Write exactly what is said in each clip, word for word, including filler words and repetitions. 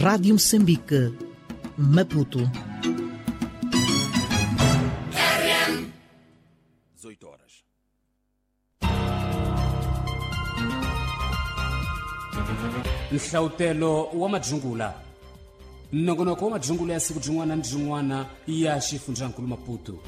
Rádio Moçambique, Maputo. dezoito horas. Nhlautelo wa madzungula nongonoko wa madzungula ya siku byin'wana ni byin'wana ya xifundzankulu Maputo.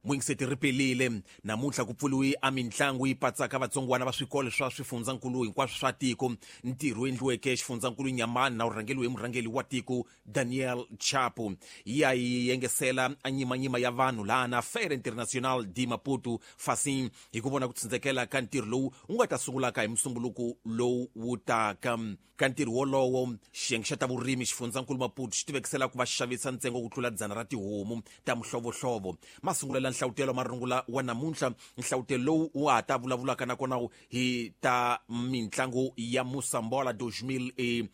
Mwingiseti ri pelile namuntlha ku pfuriwe a mintlangu yi patsaka vatsongwana va swikolo swa swifundzankulu hinkwaswo swa tiko. Ntirho wu endliweke xifundzankulu Nyamani na wu rhangeliwe hi murhangeli wa tiko Daniel Chapo. Yi ya yi yengesela a nyimanyima ya vanhu laha na Feira Internacional de Maputo Facim hi ku vona ku tsindzekela ka ntirho lowu wu nga ta sungulaka hi musumbuluko lowu wu taka. Ka ntirho wolowo xiyenge xa ta vurimi xifundzankulu Maputo xi tivekisela ku va xavisa ntsengo ku tlula dzana ra tihomu ta mihlovohlovo. Masungulo nhlautelo marungula wa namuntlha, nhlautelo lowu wa ha ta vulavulaka nakona hi ta mintlangu ya Moçambola dois mil e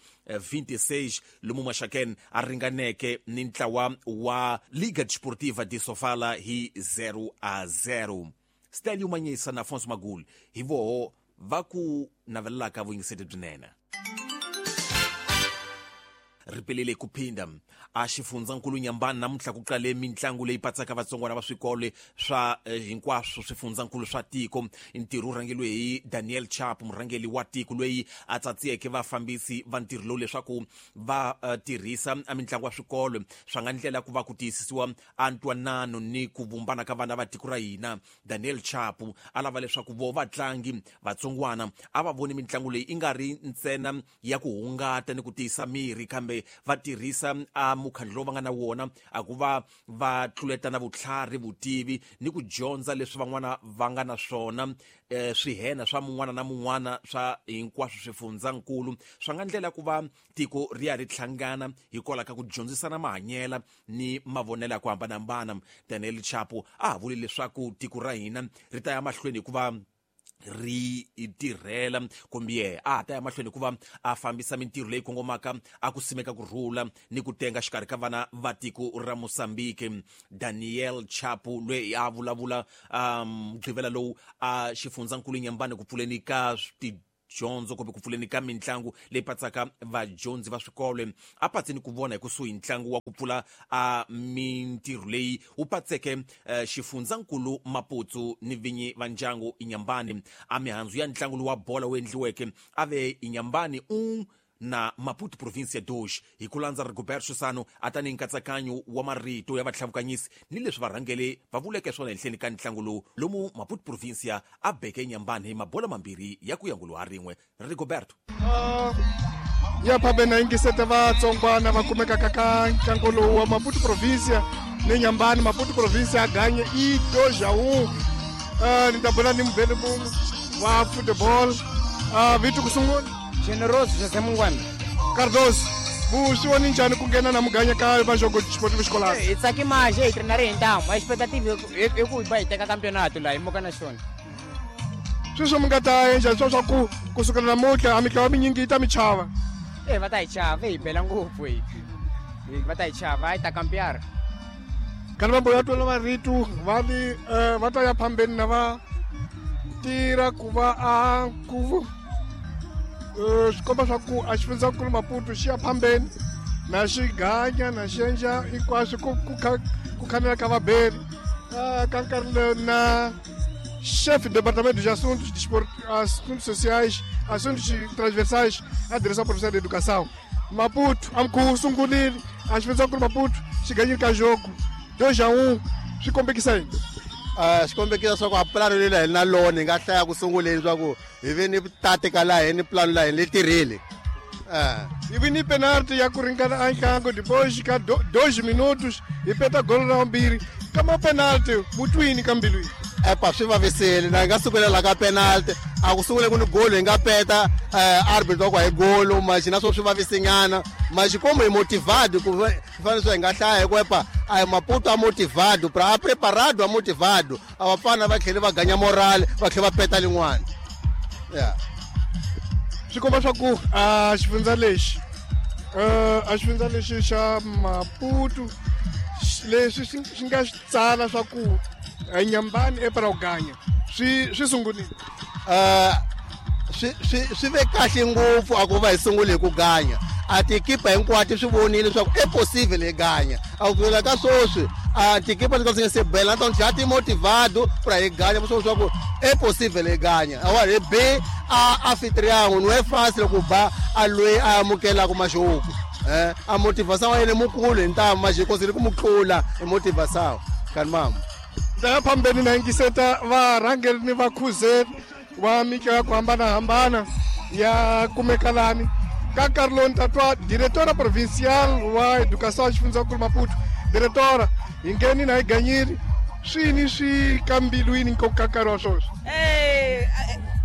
vinte e seis lomu Maxaken a ringaneke ni ntlawa wa Liga Desportiva de Sofala hi zero a zero. Stelio Manyisa na Afonso Magul hi voho va ku navelelaka vuyingiseti byinene. Ripelele ku phinda a xifundzankulu Nyambani namuntlha ku qale mintlangu leyi patsaka vatsongwana va swikolo swa hinkwaswo swifundzankulu swa tiko. Ntirho wu rhangeliwe hi Daniel Chapo, murhangeli wa tiko loyi a tsatsiyeke vafambisi va ntirho lowu leswaku va uh, tirhisa a mintlangu ya swikolo swa nga ndlela ku va ku tiyisisiwa a ntwanano ni ku vumbana ka vana va tiko ra hina. Daniel Chapo a lava leswaku vo vatlangi vatsongwana a va voni mintlangu leyi i nga ri ntsena ya ku hungata ni ku tiyisa miri, kambe va tirhisa a mukhandlu lowu va nga na wona a ku va va tluletana vutlhari, vutivi ni ku dyondza leswi van'wana va nga na swona, eh, swihena swa mun'wana na mun'wana swa hinkwaswo swifundzankulu swa nga ndlela ku va tiko ri ya ri hlangana hikwalaho ka ku dyondzisana mahanyela ni mavonelo ya ku hambanahambana. Daniel Chapo a ha vuli leswaku tiko ra hina ri ta ya mahlweni hikuva ri tirhela kumbe ye a ha ta ya mahlweni hikuva a fambisa mintirho leyi kongomaka a ku simeka ku rhula ni ku tenga xikarhi ka vana va tiko ra Mozambique. Daniel Chapo loyi a vulavula mugqivela um, lowu a xifundzankulu Nyambani ku pfuleni ka tidyondzo kumbe ku pfuleni ka mintlangu leyi patsaka vadyondzi va swikolo a patseni ku vona hi kusuhi ntlangu wa ku pfula a mintirho leyi wu patseke xifundzankulu Maputo ni vinyi va ndyangu Inyambani. A mihandzu ya ntlangu lowu wa bola wu endliweke a ve Inyambani un na Maputo Província dois hi ku landza Rigoberto Sano a tani nkatsakanyo wa marito ya vatlhavukanyisi ni leswi varhangeli va vuleke swona henhleni ka ntlangu lowu lomu Maputo Província a beke Inyambani hi mabola mambirhi ya ku ya ngulu ha rin'we. Rigoberto uh, ya phabena yingisete vatsongwana va kumekaka ka ntlangu lowu wa Maputo Província ni Nyambani. Maputo Província a ganye i dois a um. Uh, ni ta bula ni muvheli mun'we wa football uh, vito ku sungula Generoso José Mungwana Cardoso. Vu swi voni njhani ku nghena na muganya ka vajogo desportivo escolar? Hi tsaki maje hi treinare hi ntamu. A expectativa i ku va hi teka campeonato laha hi muka na xona. Sweswo mi nga ta endla swa swa ku kusukela namuntlha a mitlawa minyingi yi ta mi chava? E va ta hi chava, hi bela ngopfu hi va ta hi chava, hi ta kampeara. Kana va mboya twela marito va li va ta ya phambeni na va tirha ku va a ku swi komba swa ku a xifundzankulu Maputo xi ya phambeni na xi ganya na xi endla hinkwaswo ku ku ku khanela ka vaberi ka nkarhi na chefe do departamento de assuntos de assuntos sociais, assuntos transversais, a direção provincial de educação Maputo amku sungulile a xifundzankulu Maputo xi ganyile ka jogo dois a um. Swi kombekisa yini? Uh, xi kombekisa swa ku a pulani leyi hi na lona hi nga hlaya ku sunguleni swa ku hi ve ni tatika laha hi ni pulani laha hi ni tirhile. Hi vi ni penalty ya ku ringana a ntlangu depois ka dois minutos hi peta golo ra vumbirhi ka ma penalty mutwini ka mbilwini. Epa swi vavisile na hi nga sungula la ka penalty a ku sungule ku ni golo hi nga peta arbitro wa ku hi golo maxi na swo swi vavisinyana maxi komo hi motivado ku fanele swa hi nga hlaya hi ku epa a hi Maputo a motivado pra a preparado a motivado a vafana va tlhele va ganya morale va tlhela va peta lin'wana. Yeah. Swi komba swa ku a xifundza lexi a xifundza lexi xa Maputo leswi swi nga tsala swa ku Nyambani e para u ganya swi swi sungurile. Uh, swi swi swi ve kahle ngopfu a ku va hi sungule hi ku ganya a tikipa hinkwato swi vonile leswaku i possible hi ganya a ku la ka swoswi a tikipa leti nga se bela na tona ti motivado pra hi ganya swo swa ku i possible hi ganya a wa hi be a anfitrião não é fácil ku ba a loyi a amukelaka maxuku eh a motivação wa yena mukulu hi ntamu maxikosi ri ku mutlula i motivação kani mama ndaya phambeni na yingiseta varhangeri ni vakhuzeri wa mitlawa ya ku hambanahambana ya kumekalani ka nkarhi lowu ni ta twa diretora provincial wa educação ya xifundzankulu Maputo. Diretora, hi ngheni na hi ganyile swini swi ka mbilwini nkoka nkarhi wa swoswi? Eh,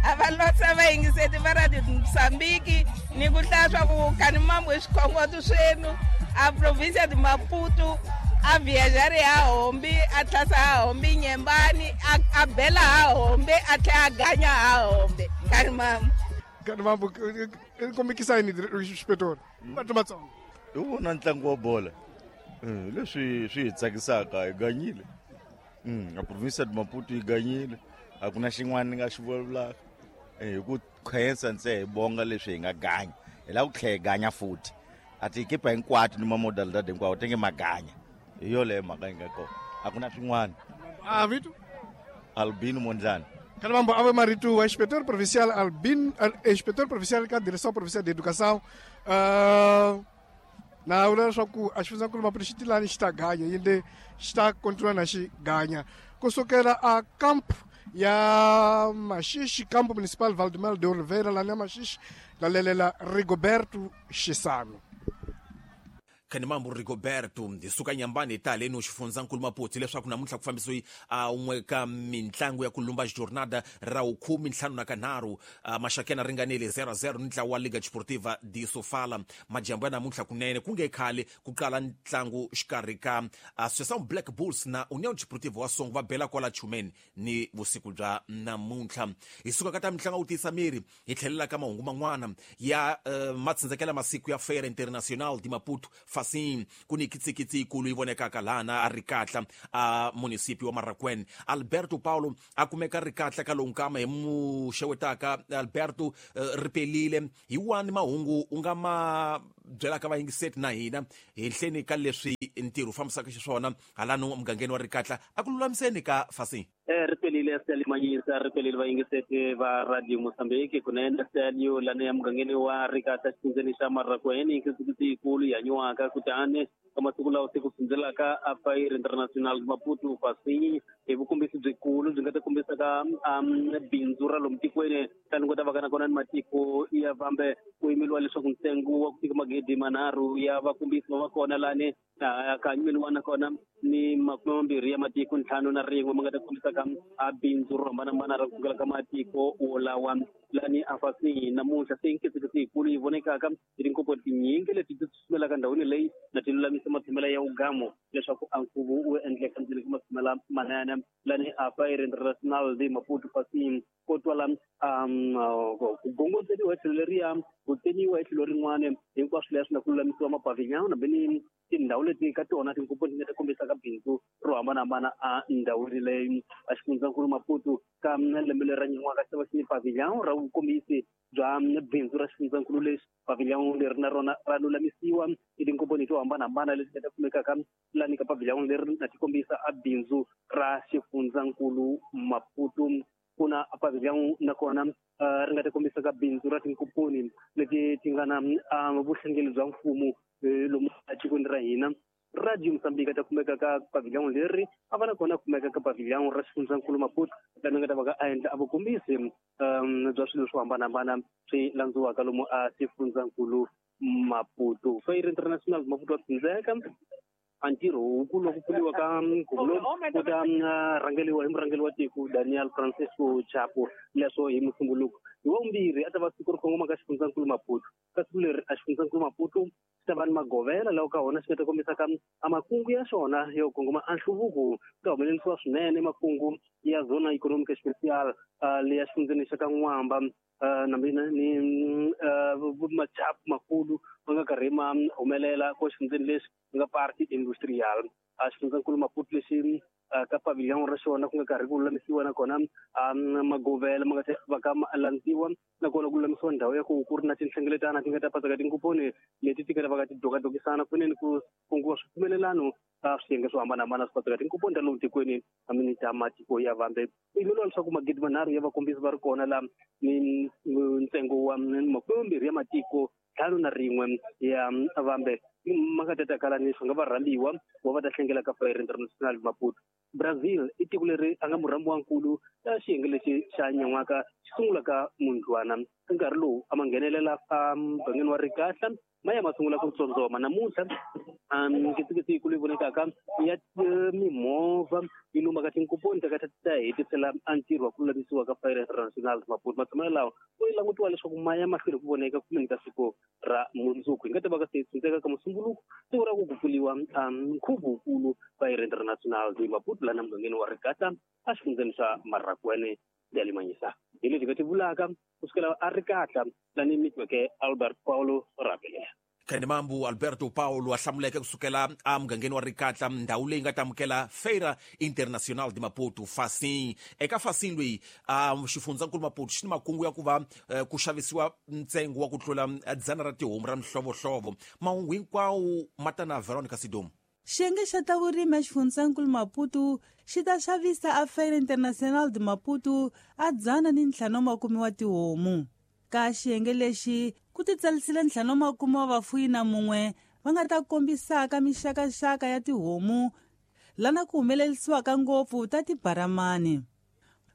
a va lotsa va yingiseti va Radio Mozambique ni ku hlaya swa ku kani mambo hi swikhongoto swenu a provincia de Maputo a viajare a hombi a tlhasa a hombi Nyembani a bela a hombe a tlhela a ganya a hombe kani mambo kani mambo i kombekisa yini inspetor vanhu Vatsonga hi vona ntlangu wa bola leswi swi hi tsakisaka hi ganyile a provincia de Maputo yi ganyile a ku na xin'wana ni nga xi vulavulaka hi ku khensa ntse hi bonga leswi hi nga ganya hi lava ku tlhela hi ganya futhi a tikipa hinkwato ni mamodalidad hinkwawo ti nge maganya hi yoleyo mhaka yi nga kona a ku na swin'wana a vito Albino Mondlane. Kani mambo ave marito wa inspetor provincial Albino, inspetor provincial ka direção provincial de educação. Uh, na vula leswaku a xifundzankulu Maputo xi tilani xi ta ganya yinde xi ta continua na xi ganya kusukela a campo ya Maxixe, campo municipal Valdemar de Oliveira lani ya Maxixe lalelela Rigoberto Xisano. Kani mambo Rigoberto hi suka Nyambani hi ta haleni xifundzankulu Maputo leswaku namuntlha ku fambisiwe a un'we ka mintlangu ya ku lumba jornada ra vukhume ntlhanu na kanharhu Maxakena ringanele zero zero ni ntlawa wa Liga Desportiva de Sofala. Majambu ya namuntlha kunene ku nge khale ku qala ntlangu xikarhi ka Associação Black Bulls na União Desportiva wa Songo va bela kwala Chumeni ni vusiku bya namuntlha. Hi suka ka ta mitlangu wu tiyisa miri hi tlhelela ka mahungu man'wana ya uh, matsindzakela masiku ya Feira Internacional de Maputo Fasim ku ni kitsikitsi yikulu yi vonekaka lana a Rikatla a municipio wa Marracuene. Alberto Paulo a kumeka Rikatla ka lowu nkama hi muxewetaka Alberto uh, ripelile hi wani mahungu u nga ma byelaka vayingiseti na hina henhleni ka leswi ntirho wu fambisaka xiswona halano mugangeni wa Rikatla a ku lulamiseni ka Fasim. Eh ripelile Salimanyisa ripelile vayingiseti va Radio Mozambique kunene Stalio lana ya mugangeni wa Rikatla xifundzeni xa Marracuene kitsikitsi yikulu ya nywaka kutani ka masiku lawa se ku sundzelaka a Feira Internacional Maputo Fasim hi vukombisi byikulu byi nga ta kombisaka bindzu ra lomu tikweni tani ku ta va ka na kona ni matiko ya vambe ku yimeliwa leswaku ntsengo wa ku fika magidi manharhu ya vakombisi va va kona lani ka nyimeliwa nakona ni makume mambirhi ya matiko ntlhanu na rin'we ma nga ta kombisaka a bindzu ro hambanahambana ra kusukela ka matiko wolawa lani a Fasim namuntlha se nkitsikitsi yikulu yi vonekaka hi tinkopo tinyingi leti ti tsusumelaka ndhawini leyi na ti lulamisa matshamela ya ugamo leswaku a nkhuvo wu endleka ndzeni ka matshamela manene lani a Feira Internacional de Maputo Fasim ko twala ku gongondzeriwa hi tlhelo leriya ku teniwa hi tlhelo rin'wana hinkwaswo leswi na ku lulamisiwa mapavillon na ni tindhawu leti ka tona tinkopo ti nga ta kombisaka bindzu ro hambanahambana a ndhawini leyi a xifundzankulu Maputo ka lembe leri ra nyan'waka xi ta va xi ni pavillon ra vukombisi bya bindzu ra xifundzankulu lexi pavillon leri na rona ra lulamisiwa hi tinkomponi to hambanahambana leti nga ta kumekaka lani ka pavillon leri na ti kombisa a bindzu ra xifundzankulu Maputo. Ku na pavillon nakona ri nga ta kombisaka bindzu ra tinkomponi leti ti nga na vuhlengeli bya mfumo lomu etikweni ra hina. Radio Mozambique ta kumeka ka pavillon leri a va na kona kumeka ka pavillon ra xifundzankulu Maputo lani nga ta va ka a endla a vukombisi bya swilo swo hambanahambana swi landziwaka lomu a xifundzankulu Maputo. Feira Internacional Maputo wa tsindzeka a ntirho wukulu wa ku pfuriwa ka nkhuvo lowu wu ta rhangeriwa hi murhangeri wa tiko Daniel Francisco Chapo leswo hi Musumbuluko hi wa vumbirhi a ta va siku ro kongoma ka xifundzankulu Maputo. Ka siku leri a xifundzankulu Maputo xi ta va ni magovela lawa ka wona xi nga ta kombisaka a makungu ya xona yo kongoma a nhluvuko ku ta humelerisiwa swinene makungu ya zona economic special leya xifundzeni xa ka N'wamba na mina ni machapu makulu ma nga karhi ma humelela ko xifundzeni lexi nga parti industrial. A xifundzankulu Maputo lexi ka pavilion ra xona ku nga karhi ku lulamisiwa nakona magovela ma nga ta va ka ma landziwa nakona ku lulamisiwa ndhawu ya ku ku ri na tinhlengeletano ti nga ta patsaka tinkuponi leti ti nga ta va ka ti dokadokisana kunene ku kunguwa swipfumelelano ka swiyenge swo hambanahambana swi patsaka tinkuponi ta lomu tikweni hamini ta matiko ya vambe. I vuriwa leswaku magidi manharhu ya vakombisi va ri kona la ni ntsengo wa makume mambirhi ya matiko ntlhanu na rin'we ya vambe ma nga ta takala ni swi nga va rhambiwa wa va ta hlengela ka Feira Internacional Maputo. Brazil i tiko leri a nga murhambiwankulu ya xiyenge lexi xa nyan'waka xi sungulaka mundlwana. Ka nkarhi lowu a ma nghenelela emugangeni wa Rikahla ma ya ma sungula ku tsondzoma namuntlha nkitsikitsi yikulu yi vonekaka ya mimovha yi lumaka tinkuponi ta ka ta hetisela a ntirho wa ku lulamisiwa ka Feira Internacional Maputo. Matshamelo lawa ku yi langutiwa leswaku ma ya mahlweni ku voneka kumeni ka siku ra mundzuku. Hi nga ta va ka se tsundzeka ka musumbuluko siku ra ku ku pfuriwa nkhuvo wukulu Feira Internacional de Maputo lana mugangeni wa Rikahla a xifundzeni xa Marrakwene ya Limanyisa. Hi leswi nga ti vulaka kusukela a Rikahla lani mitweke Albert Paulo Rabelela. Khanemambu Alberto Paulo a hlamuleke kusukela emugangeni wa Rikahla ndhawu leyi nga ta amukela Feira Internacional de Maputo Facim. Eka Facim loyi xifundzankulu Maputo xi ni makungu ya ku va ku xavisiwa ntsengo wa ku tlula dzana ra tihomu ra mihlovohlovo. Mahungu hinkwawo ma ta na Veronica Sidomu. Xiyenge xa ta vurimi exifundzankulu Maputo xi ta xavisa a Feira Internacional de Maputo a dzana ni ntlhanu wa makume wa tihomu. Ka xiyenge lexi ku titsarisile ntlhanu wa makume wa vafuyi na mun'we va nga ta kombisaka mixakaxaka ya tihomu lana ku humelerisiwaka ngopfu ta tibaramani.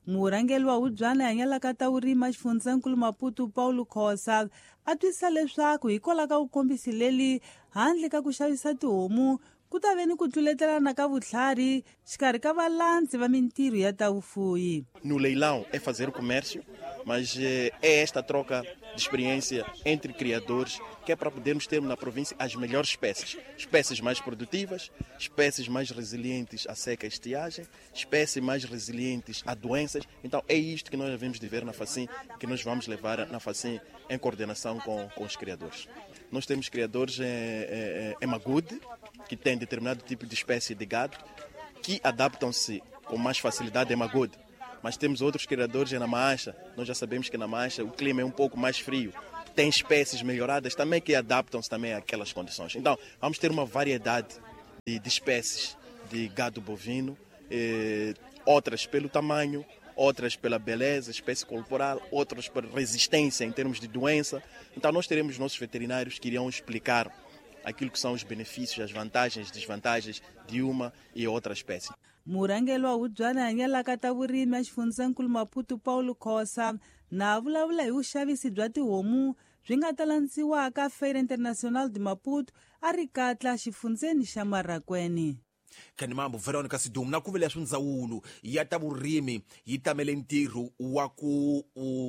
Murhangeri wa hubyana hanyalaka ta vurimi exifundzankulu Maputo Paulo Khosa a twisisa leswaku hikwalaho ka vukombisi leli handle ka ku xavisa tihomu ku ta ve ni ku tluletelana ka vutlhari xikarhi ka valandzi va mintirho ya ta vufuyi. No leilão é fazer comércio, mas é esta troca de experiência entre criadores que é para podermos ter na província as melhores espécies. Espécies mais produtivas, espécies mais resilientes à seca e estiagem, espécies mais resilientes a doenças. Então é isto que nós devemos de ver na Facim, que nós vamos levar na Facim em coordenação com, com os criadores. Nós temos criadores em, em, em Magude, que têm determinado tipo de espécie de gado, que adaptam-se com mais facilidade em Magude. Mas temos outros criadores na Mancha. Nós já sabemos que na Mancha o clima é um pouco mais frio. Tem espécies melhoradas também que adaptam-se também àquelas condições. Então, vamos ter uma variedade de, de espécies de gado bovino, eh, outras pelo tamanho, outras pela beleza, espécie corporal, outras por resistência em termos de doença. Então, nós teremos nossos veterinários que irão explicar aquilo que são os benefícios, as vantagens, desvantagens de uma e outra espécie. Murhangeri wa hubyana hanyalaka ta vurimi exifundzankulu Maputo Paulo Khosa na vulavula hi vuxavisi bya tihomu byi nga ta landziwaka Feira Internacional de Maputo a Rikahla xifundzeni xa Marrakwene. Khanemambu Veronica Sidomu na ku vula leswi ndzawulo ya ta vurimi yi tamele ntirho wa ku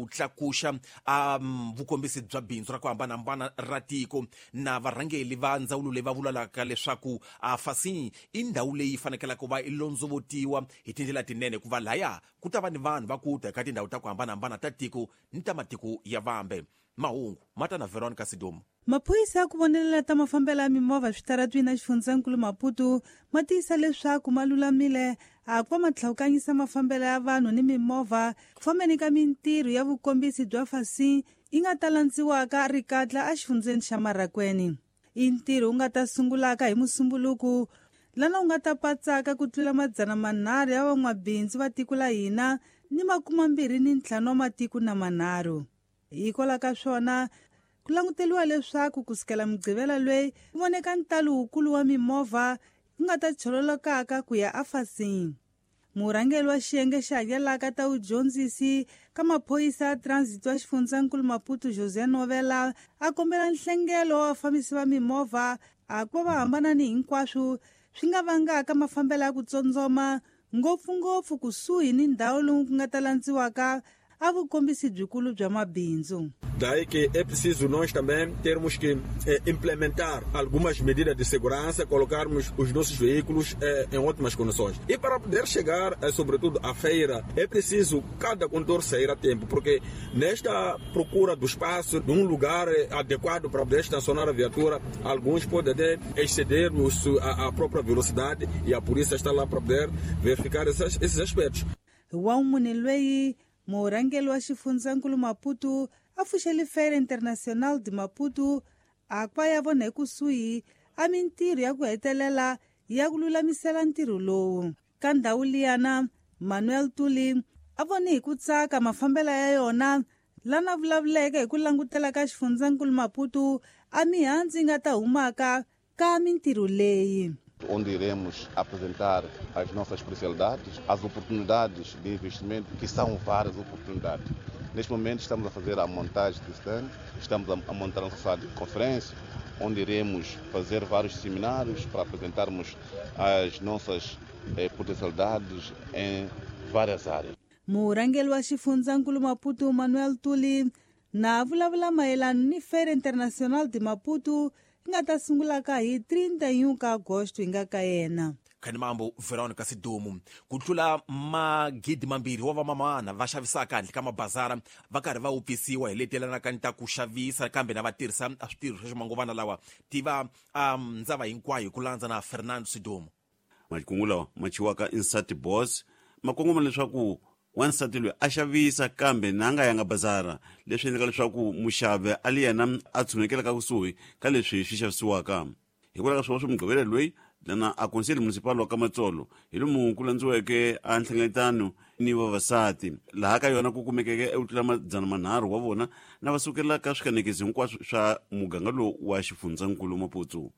tlakuxa um, vukombisi bya bindzu ra ku hambanahambana ra tiko na varhangeli va ndzawulo leyi va vulavulaka leswaku a Facim i ndhawu leyi fanekelaka ku va i londzovotiwa hi tindlela tinene ku va laya ku ta va ni vanhu va ku ta eka tindhawu ta ku hambanahambana ta tiko ni ta matiko ya vambe. Mahungu ma ta na Veronica Sidomu. Maphorisa ya ku vonelela ta mafambelo ya mimovha switaratwini exifundzankulu Maputo ma tiyisa leswaku ma lulamile a ku va ma tlhawukanyisa mafambelo ya vanhu ni mimovha ku fambeni ka mintirho ya vukombisi bya Facim yi nga ta landziwaka Rikahla exifundzeni xa Marrakwene. I ntirho wu nga ta sungulaka hi Musumbuluku lana wu nga ta patsaka ku tlula madzana manharhu ya van'wabindzu va tiko la hina ni makumambirhi ni ntlhanu wa matiko na manharhu. Hikwalaho ka swona ku languteriwa leswaku kusukela Mugqivela loyi ku voneka ntalo wukulu wa mimovha ku nga ta chololokaka ku ya aFacim. Murhangeri wa xiyenge xa hanyalaka ta vudyondzisi ka maphorisa ya transit wa xifundzankulu Maputo José Novela a kombela nhlengelo wa vafambisi va mimovha a ku va va hambana ni hinkwaswo swi nga vangaka mafambelo ya ku tsondzoma ngopfungopfu kusuhi ni ndhawu lowu ku nga ta landziwaka a vukombisi byikulu bya mabindzu. Daí que é preciso nós também termos que eh, implementar algumas medidas de segurança, colocarmos os nossos veículos eh, em ótimas condições. E para poder chegar, eh, sobretudo, à feira, é preciso cada condutor sair a tempo, porque nesta procura do espaço, de um lugar eh, adequado para poder estacionar a viatura, alguns podem até exceder os, a, a própria velocidade e a polícia está lá para poder verificar esses, esses aspectos. Wa loyi murhangeri wa xifundzankulu Maputo a pfuxele Feira Internacional de Maputo a kwa ya vona ekusuhi a mintirho ya ku hetelela ya ku lulamisela ntirho lowu. Ka ndhawu liyana Manuel Tuli a vone hi ku tsaka mafambelo ya yona lana vulavuleke hi ku langutela ka xifundzankulu Maputo a mihandzu yi nga ta humaka ka mintirho leyi. Onde iremos apresentar as nossas especialidades, as oportunidades de investimento, que são várias oportunidades. Neste momento estamos a fazer a montagem de stand, estamos a montar a nossa sala de conferência, onde iremos fazer vários seminários para apresentarmos as nossas eh, potencialidades em várias áreas. Murhangeri wa xifundzankulu Maputo Manuel Tuli na vulavula mayelana ni Feira Internacional de Maputo nga ta sungula ka hi trinta e um ka agosto hi nga ka yena. Khanimambo Veronica Sidumu ku tlula magidi mambirhi wa vamamana va xavisaka handle ka mabazara va karhi va wupfisiwa hi letelanaka ni ta ku xavisa kambe na va tirhisa switirho swa ximanguvana lawa tiva um, ndzava hinkwayo ku landza na Fernando Sidumu. Makungu lawa ma chiwaka insati boss ma kongoma leswaku wansati loyi a xavisa kambe na nga yanga bazara leswi endlaka leswaku muxavi a li yena a tshunekelaka kusuhi ka leswi swi xavisiwaka. Hikwalaho ka swona swa Mugqivela loyi lana a konseli municipal wa ka Matsolo hi lomu ku landziweke a nhlengeletano ni vavasati laha ka yona ku kumekeke eku tlula madzana manharhu wa vona na va sukelaka swikanekisi hinkwaswo swa muganga lowu wa xifundzankulu Maputo.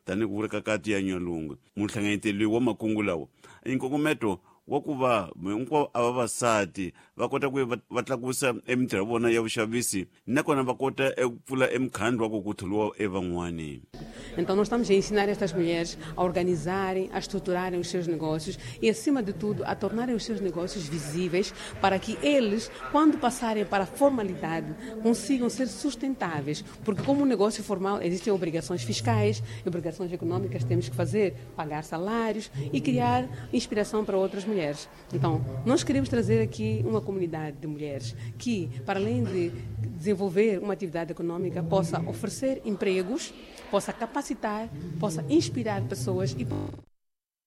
Tanihi ku vula ka kati ya Nyalungu muhlanganyeteli wa makungu lawa i nkongometo wa ku va hinkwavo a vavasati va kota ku va tlakusa emintirho ya vona ya vuxavisi nakona va kota eku pfula emukhandlu wa ku ku tholiwa evan'wani. Então nós estamos a ensinar estas mulheres a organizarem, a estruturarem os seus negócios e, acima de tudo, a tornarem os seus negócios visíveis para que eles, quando passarem para a formalidade, consigam ser sustentáveis. Porque como um negócio formal existem obrigações fiscais, obrigações econômicas, temos que fazer, pagar salários e criar inspiração para outras mulheres. Então, nós queremos trazer aqui uma comunidade de mulheres que, para além de desenvolver uma atividade econômica, possa oferecer empregos, possa capacitar, possa inspirar pessoas e